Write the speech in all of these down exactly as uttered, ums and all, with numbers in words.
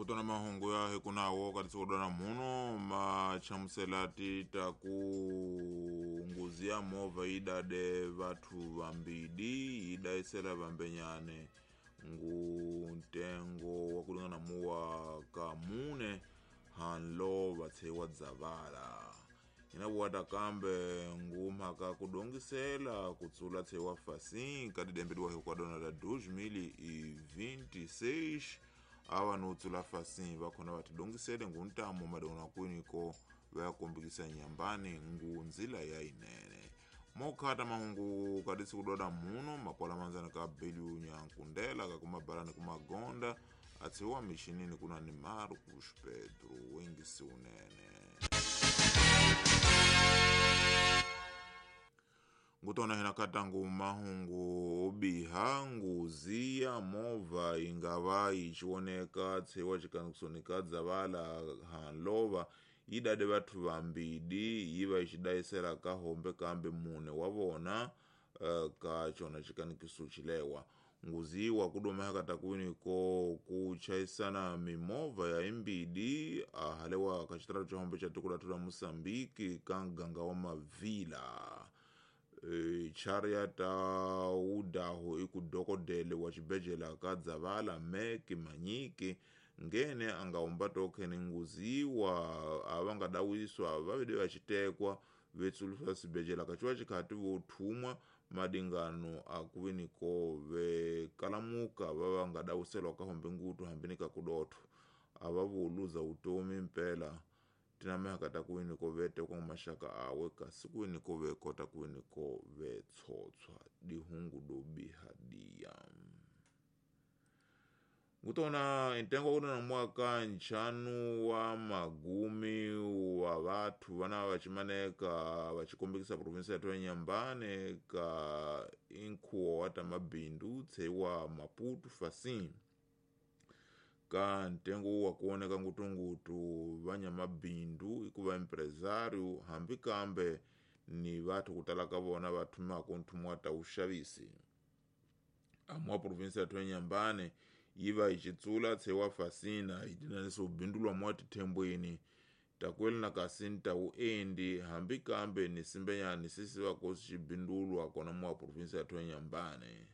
Ngutona mahungu ya hikunawo katisikodwa muno machamusela ti ta ku ngozi ya movha yi dade vathu vambidi yi dayisela vambenyane ngu ntengo wa kulingana muwa ka mune hanlo vatshewa dzavala ina vuwata kambe ngumhaka kudongisela kutsula tshewa fasin ka didembediwa hikwadona la dois mil e vinte e seis ava no tsula fasin vakhona vatidongisele nguntamo madona kwiniko vayakombikisa nyambani ngunzila ya inene mokhata mahungu kadisi kudoda muno makwala manzana ka beliu nyankundela kakumabalani kumagonda atsiwa michinini kuna ni Marcos Pedro wengisi unene. Ngutona hina katangu mahungu obiha nguzi ya mova ingava ichioneka tsewa chikanukusonika dzavala hanlova idade vathu vambidi yiva ichidayisela kahombe kambe mune wavona uh, ka chona chikanikiso chilewa nguzi wa kudoma katakwini ko kuchaisana mimova ya imbidi ahalewa kachitaratu cha hombe cha tukulatu la Mosambiki kanganga wa mavila e, chariata udaho ikudokodele wa chibejela kadzavala meki manyiki ngene angaomba tokhene nguziwa avangadawisa vavide vachitekwa vetsulusa sibejela kachiwa chikhati vothumwa madingano akuviniko vekalamuka vavangadawiselwa kahombe ngutu hambini kakudotho avavuluza utomi mpela tinamehaka takuwiniko vetekwa mashaka awe kasi kuwiniko vekota kuwiniko vetsotswa dihungu dobiha diya. Ngutona intengo kuna mwaka nchanu wa magumi wa vathu vana vachimaneka vachikombekisa provinsi ya Nyambane ka inkhuwo wa tamabindu tsewa Maputo fasin ka ntengo wa kuoneka ngutungutu vanyamabindu ikuva empresario hambi kambe ni vathu kutala ka vona vathumako nthumo wa ta uxavisi amwa provinsi ya Nyambane yiva ichitsula tsewa fasina itinaniso ubindulwa mwa tithembweni takweli na kasi nta uendi hambi kambe ni simbenyani sisi vakosi xibindulwa kona mwa provinsi ya Nyambane.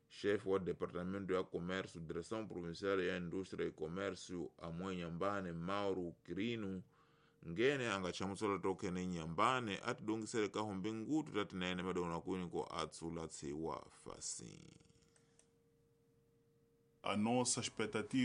Chefe wa departamento ya comércio direção provincial ya indústria e comércio amwe Nyambane Mauro Quirino ngene angachamusela tokhene Nyambane atidongisele kahombe ngutu tatinene madona kwiniko atsula tsewa fasin. A nossa expectativa